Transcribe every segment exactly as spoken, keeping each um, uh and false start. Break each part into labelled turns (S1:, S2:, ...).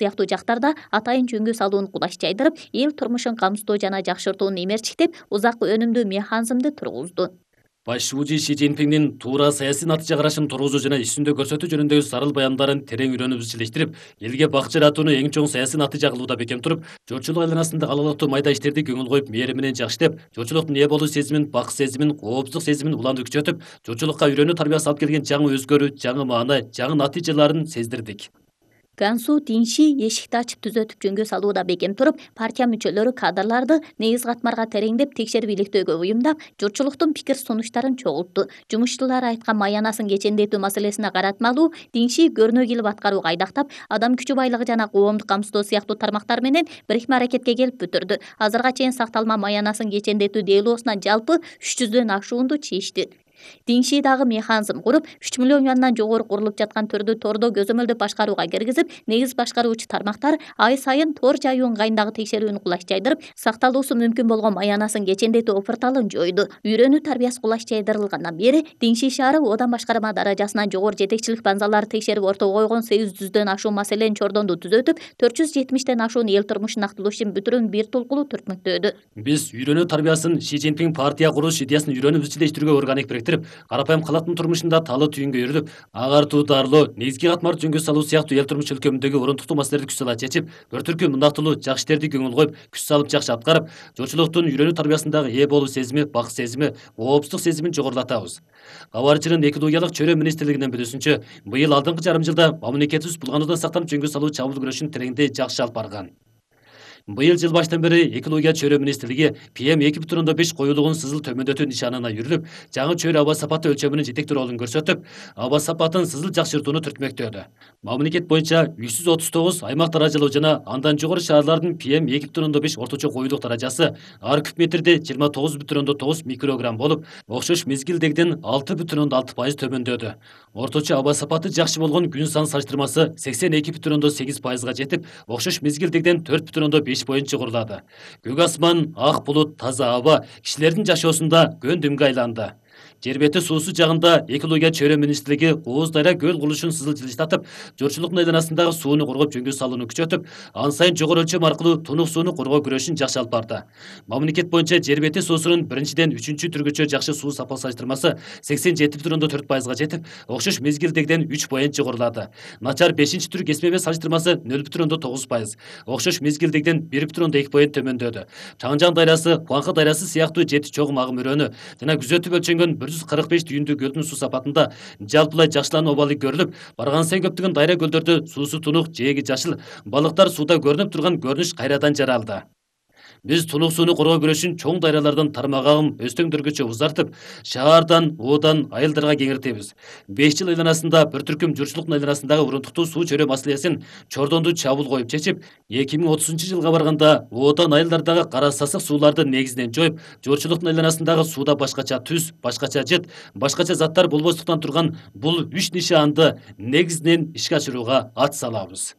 S1: сыяктуу жактарда атайын жөнгө салууну кулаш жайдырып, эл турмушун камсыздоо жана жакшыртууну эмерчиктеп, узак өнүмдүү механизмди тургузду.
S2: Башчыбыжы Ши Цзиньпиндин туура саясий натыйжа карашын тургузуу жана иш жүзүндө көрсөтүү жөнүндөгү сарыл баяндарын терең үйрөнүп изчилештирип, элге бак жаратууну эң чоң саясий натыйжа кылууда бекем туруп, журтчулук айланасында алалыктуу майда иштерди көңүл коюп, мээри менен жакшытып, журтчулуктун ээ болуу сезимин, бак сезимин, коопсуздук сезимин уланды күчөтүп, журтчулукка үйрөнүү тарбиясы алып келген жаңы өзгөрүү, жаңы маана, жаңы натыйжаларын сездирдик.
S1: Гансу Динши эшикти ачып түзөтүп жөнгө салууда бекем туруп, партия мүчөлөрү кадрларды негиз катмарга тереңдеп текшерип иликтөөгө уюмдап, журтчулуктун пикир сунуштарын чогултту. Жумушчулар айткан маянасын кечендетүү маселесине каратмалуу Динши көрнөө кылып аткарууга айдактап, адам күчү байлыгы жана коомдук камсыздоо сыяктуу тармактар менен бирикме аракетке келип бүтүрдү. Азырга чейин сакталма маянасын кечендетүү делоосуна жалпы үч жүздөн ашуунду чийишти. Динши дагы механизм куруп, үч миллион юандан жогору курулуп жаткан төрдү тордо көзөмөлдү башкарууга киргизип, негиз башкаруучу тармактар ай сайын тор жайуу ыңгайындагы текшерүүнү кулаш жайдырып, сакталуусу мүмкүн болгон маянасын кечендетүү опурталын жойду. Үйрөнүү тарбиясы кулаш жайдырылгандан бери Динши шаары одан башкарма даражасынан жогору жетекчилик банзалары текшерип ортого койгон сегиз жүздөн ашуун маселенин чордонду түзөтүп, төрт жүз жетимиштен ашуун эл турмушун актылоо ишин бүтүрүүнү бир толкулуу түртмөктөөдү.
S2: Биз үйрөнүү тарбиясын Ши Цзиньпин партия куруш идеясын үйрөнүп изчилештирүүгө органик бириктирип, карапайым калктын турмушунда таалы түйүнгө үйрүлүп, агартуу дарылоо, негизги катмар жөнгө салуу сыяктуу эл турмуш өлкөмүндөгү орунтуктуу маселелерди күч сала чечип, бір түркү мындактылуу жакшы иштерди көңүл коюп, күч салып жакшы аткарып, журтчулуктун үйрөнүү тарбиясындагы ээ болуу сезими, бак сезими, коопсуздук сезимин жогорулатабыз. Кабарчынын экологиялык чөйрө министрлигинин билүүсүнчө, быйыл алдыңкы жарым жылда мамлекетибиз булгануудан сактанып жөнгө салуу чабуул күрөшүн тереңдей жакшы алып барган. Быйыл жыл баштан бери экология чөйрө министрлиги пи эм эки бүтүн ондон беш коюлугун сызыл төмөндөтүү нишанына жүрүлүп, жаңы чөйрө аба сапаты өлчөмүнүн жетектүү ролун көрсөтүп, аба сапатын сызыл жакшыртууну түртмөктөөдү. Мамлекет боюнча үч жүз отуз тогуз аймак даражалоо жана андан жогору шаарлардын пи эм эки бүтүн ондон беш орточо коюлук даражасы ар куб метрде жыйырма тогуз бүтүн ондон тогуз микрограмм болуп, окшош мезгилдегиден алты бүтүн ондон алты пайыз төмөндөдү. Орточо аба сапаты жакшы болгон күн сан салыштырмасы сексен эки бүтүн ондон сегиз пайызга жетип, окшош мезгилдегиден төрт бүтүн ондон беш боюнча курулады. Көк асман, ак булут, таза аба кишилердин жашоосунда көн дүмгө айланды. Жер бети суусу жагында экология чөйрө министрлиги Кооз Дайра көл курулушун сызыл жылыштатып, журтчулуктун айланасындагы сууну коргоп жөнгө салууну күчөтүп, ан сайын жогору өлчөм аркылуу тунук сууну коргоо күрөшүн жакшы алып барды. Мамлекет боюнча жер бети суусунун биринчиден үчүнчү түргөчө жакшы суу сапа салыштырмасы сексен жети бүтүн ондон төрт пайызга жетип, окшош мезгилдегиден үч боюнча курулады. Начар бешинчи түр кесмеме салыштырмасы нөл бүтүн ондон тогуз пайыз, окшош мезгилдегиден бир бүтүн ондон эки боюн төмөндөдү. Чаңжан дайрасы, Куаңкы дайрасы сыяктуу жети чогум агым өрөөнү жана күзөтүп өлчөнгөн бир жүз кырк беш түйүндүү көлдүн суу сапатында жалпылай жакшылануу абалы көрүлүп, барган сайын көптөгөн дайра көлдөрдө суусу тунук, жээги жашыл, балыктар суда көрүнүп турган көрүнүш кайрадан жаралды. Биз тунук сууну коргоо күрөшүн чоң дайралардан тармак агым өстөңдөргөчө узартып, шаардан, оодан айылдарга кеңиртебиз. беш жыл айланасында бир түркүм журтчулуктун айланасындагы урунтуктуу суу чөйрө маселесин чордонду чабуул коюп чечип, эки миң отузунчу жылга барганда оодан айылдардагы кара сасык сууларды негизинен жоюп, журтчулуктун айланасындагы сууда башкача түз, башкача жыт, башкача заттар болбостуктан турган бул үч нишаанды негизинен ишке ашырууга ат салабыз.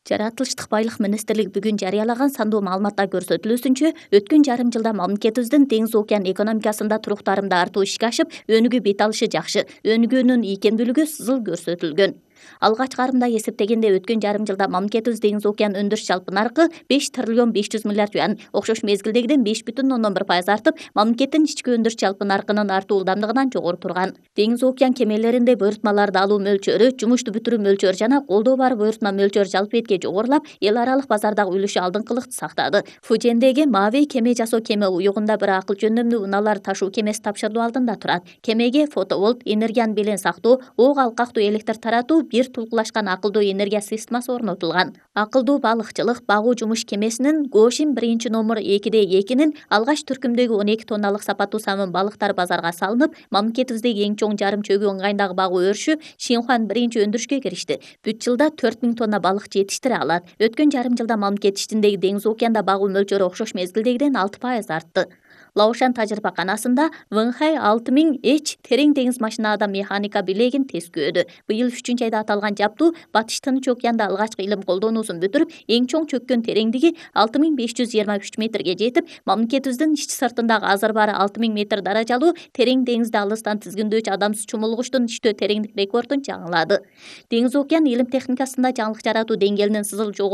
S1: Жаратылыштык байлык министрлиги бүгүн жарыялаган сандуу маалыматта көрсөтүлүүсүнчө, өткөн жарым жылда мамлекетибиздин деңиз океан экономикасында туруктарымды артуу ишке ашып, өнүгүү бет алышы жакшы, өнүгүүнүн ийкемдүүлүгү сызыл көрсөтүлгөн. Алгач карымда эсептегенде өткөн жарым жылда мамлекетибиз деңиз океан өндүрүш жалпы наркы беш триллион беш жүз миллиард юан, окшош мезгилдегиден беш бүтүн ондон бир пайыз артып, мамлекеттин ички өндүрүш жалпы наркынын артуу ылдамдыгынан жогору турган. Деңиз океан кемелеринде буйрутмаларды алуу мөлчөрү, жумушту бүтүрүү мөлчөрү жана колдоо бар буйрутма мөлчөрү жалпы бетке жогорулап, эл аралык базардагы үлүшү алдыңкылыкты сактады. Фужендеги Мави кеме жасоо кеме уюгунда бир акыл жөндөмдүү унаалар ташуу кемеси тапшырылуу алдында турат. Кемеге фотоволт, энергияны белең сактоо, ок алкактуу электр таратуу бир тулкулашкан акылдуу энергия системасы орнотулган. Акылдуу балыкчылык багуу жумуш кемесинин Гошин биринчи номер экиде экинин алгач түркүмдөгү он эки тонналык сапаттуу самын балыктар базарга салынып, мамлекетибиздеги эң чоң жарым чөгүү ыңгайындагы багуу өрүшү Шинхуан биринчи өндүрүшкө киришти. Бүт жылда төрт миң тонна балык жетиштире алат. Өткөн жарым жылда мамлекет ичиндеги деңиз океанда багуу мөлчөрү окшош мезгилдегиден алты пайыз артты. Лаошан тажрыйбаканасында Вэнхай алты миң эч терең деңиз машинаада механика билегин тескөөдү. Быйыл үчүнчү айда аталган жаптуу Батыш Тынч океанда алгачкы илим колдонуусун бүтүрүп, эң чоң чөккөн тереңдиги алты миң беш жүз жыйырма үч метрге жетип, мамлекетибиздин ички сыртындагы азыр баары алты миң метр даражалуу терең деңизди алыстан тизгиндөөчү адамсыз чумулгучтун иштөө тереңдик рекордун жаңылады. Деңиз океан илим техникасында жаңылык жаратуу деңгээлинин сызыл жогору